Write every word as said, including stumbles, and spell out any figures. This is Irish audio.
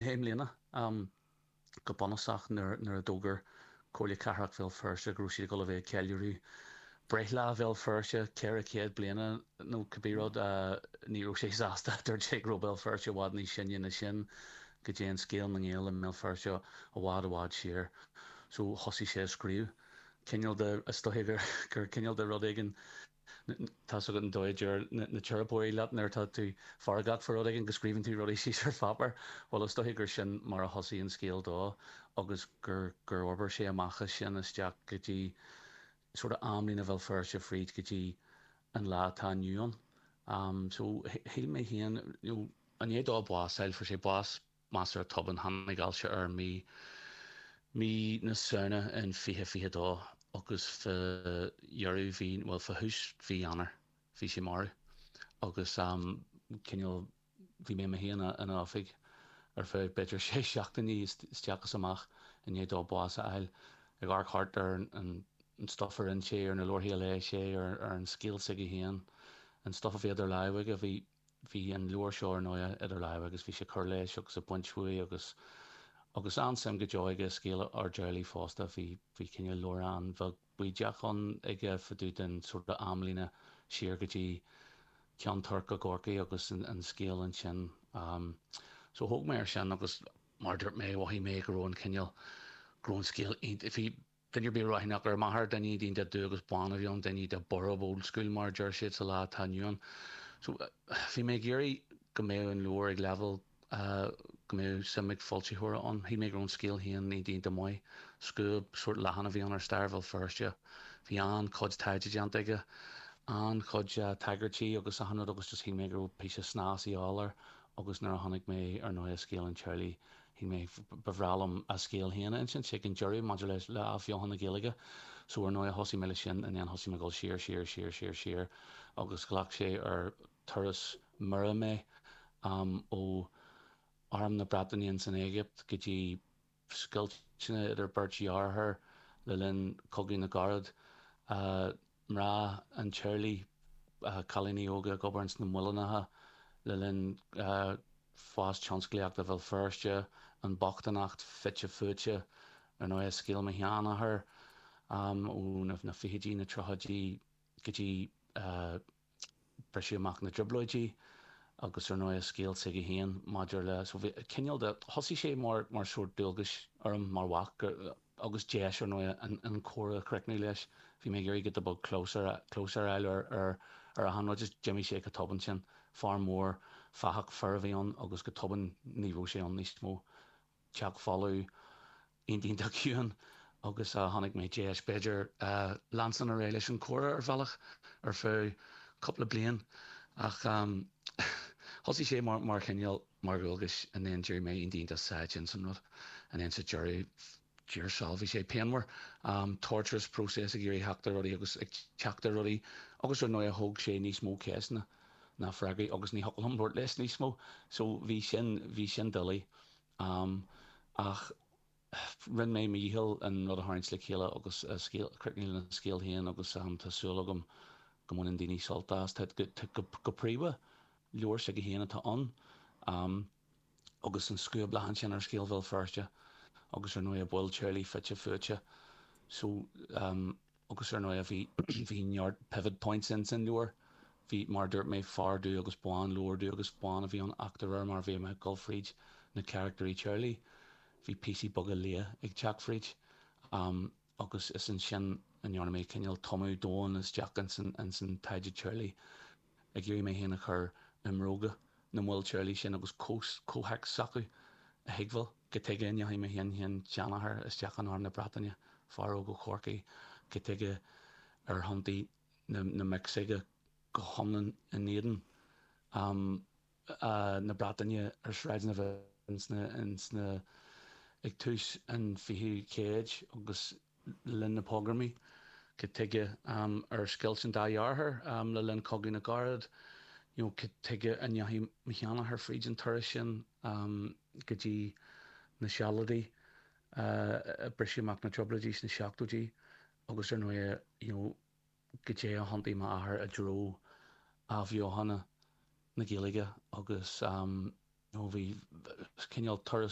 I mbliana go bunúsach nuair nuair a d'fhógair Comhairle Cathrach Bhéal Feirste go raibh siad ag dul a bheith ag ceiliúradh breithlá Bhéal Feirste ceithre chéad bliana nó cibé rud ní raibh sé sásta dúirt sé go raibh Béal Feirste i bhfad níos sine ná sin go dtéann scéal na nGael i mBéal Feirste i bhfad i bhfad siar so thosaigh sé ag scríobh cineál de is dóigh gur gur cineál de rud éigin Tá a fhios agat an dóigh a deir na teiripeoirí leat nuair atá tú feargach faoi rud éigin go scríobhann tú rudaí síos ar pháipéar. Bhuel is dóigh gur sin mar a thosaigh an scéal dó agus gur gur fhorbair sé amach as sin isteach go dtí sort of amlíne Bhéal Feirste fríd go dtí an lá atá inniu ann. Um, so shíl mé féin you know, i ndiaidh dó bás a fháil fuair sé bás measartha tobann tháinig ailse air mí mí na Samhna in fiche fiche dó agus fá dheireadh mhí bhuel fá thús mhí Eanáir bhí sé marbh agus um, cineál bhí mé mé féin ina oifig ar feadh b'fhéidir sé seachtainí isteach is amach i ndiaidh dó bás a fháil ag amharc thart ar an, an stuff a rinne sé ar na leabharthaí a léigh sé ar, ar an scéal s'aige féin an stuff a bhí idir lámha aige bhí bhí an leabhar seo ar ndóigh idir lámha agus bhí sé cur leis agus ag baint uaidh agus agus an-suim go deo aige scéal ár dteaghlaigh fosta bhí bhí cineál leabhrán bheag bídeach ann aige fá dtaobh den sort of amlíne siar go dtí Ceann Toirc i gCorcaigh agus an, an scéal ansin. Um, so thóg mé ar sin agus mar dúirt mé mhothaigh mé go raibh an cineál go raibh an scéal bhí duine ar bith ráithneach ar m'athair duine iontach dubh agus bán a bhí ann duine de borb old school mar deir siad sa lá atá inniu ann. So bhí mé ag iarraidh go mbeadh an leabhar ag leibhéal uh, go mbeadh suim ag foilsitheoir ann. Shíl mé go raibh an scéal féin iontach maith. Scuab sort leathan a bhí ann ar stair Bhéal Feirste. Bhí an-chuid taighde déanta aige an-chuid uh, tagairtí agus achan rud agus just shíl mé go raibh píosa snas de dhíth air agus nuair a chonaic mé ar ndóigh scéal an teaghlaigh shíl mé ba bhreá liom a scéal féin ansin sé an deireadh maidir leis le athbheochan na Gaeilge. So ar ndóigh thosaigh mé leis sin and then thosaigh mé dul siar siar siar siar siar agus ghlac sé ar turas mire mé um, ó arm na Breataine san Éigipt go dtí scoilteanna idir beirt dheartháir le linn Cogadh na gCarad uh, mná an teaghlaigh uh, cailíní óga ag obair sna muileanna le linn uh, fás tionsclaíochta Bhéal Feirste an bochtaineacht fite fuaite ar ndóigh scéal mo sheanathar um, ó na, na fichidí na tríochaidí go dtí uh, briseadh amach na dTrioblóidí agus ar ndóigh scéal s'aige féin maidir le so bhí cineál de thosaigh sé mar mar sort dualgas orm mar mhac agus deis ar ndóigh an, an comhrá a chríochnú leis bhí mé ag iarraidh go bog closer closer eile ar ar ar a han just d'imigh sé go tobann sin fear mór fathach fear a bhí ann agus go tobann ní raibh sé ann níos mó teach folamh iontach ciúin agus uh, tháinig mé deis b'fhéidir uh, leanstan ar aghaidh leis an chomhrá ar bhealach ar feadh cúpla bliain ach um, thosaigh sé mar mar chineál mar dhualgas and then d'éirigh mé iontach sáite san rud and then sa deireadh thiar thall bhí sé pianmhar um, torturous process ag iarraidh theacht ar rudaí agus ag teacht ar rudaí agus ar ndóigh thóg sé níos mó ceisteanna ná freagraí agus ní thiocfadh liom labhairt leis níos mó so bhí sin bhí sin doiligh um, ach rinne mé mo dhícheall an rud a tharraingt le chéile agus críochnú lena scéal féin agus um, tá súil agam go mbaineann daoine sult as go, go príomha leabhar s'aige féin atá ann um, agus an scuab leathan sin ar scéal Bhéal Feirste agus ar ndóigh baill teaghlaigh fite fuaite so um, agus ar ndóigh bhí bhí neart pivot points in san leabhar bhí mar dúirt mé fear dubh agus bán leabhar dubh agus bán a bhí ann ach de réir mar bhí mé dul fríd na carachtair teaghlaigh bhí píosaí beaga liath ag teacht fríd um, agus is ansin a ndearna mé cineál tumadh domhain isteach in in san taighde teaghlaigh ag iarraidh mé féin a chur i mbróga na mbaill teaghlaigh sin agus comhthéacs s'acu a thuigbheáil cad chuige a ndeachaigh mo shin-sheanathair isteach in arm na Breataine fear óg ó Chorcaigh cad chuige ar thiontaigh na, na mic s'aige go hiomlán in éadan um, uh, na Breataine ar sráideanna sna, sna ag tús an fichiú céad agus linn na pogromaí cad chuige um, ar scoilt an dá dheartháir um, le linn Cogadh na gCarad you know, cad chuige a ndeachaigh mo sheanathair fríd an turas sin um, go dtí na Sealadaigh uh, briseadh amach na Trioblóidí sna seachtóidí agus ar ndóigh you know, cad é a thiontaigh m'athair i dtreo athbheochana na Gaeilge agus um, Bhí cineál turas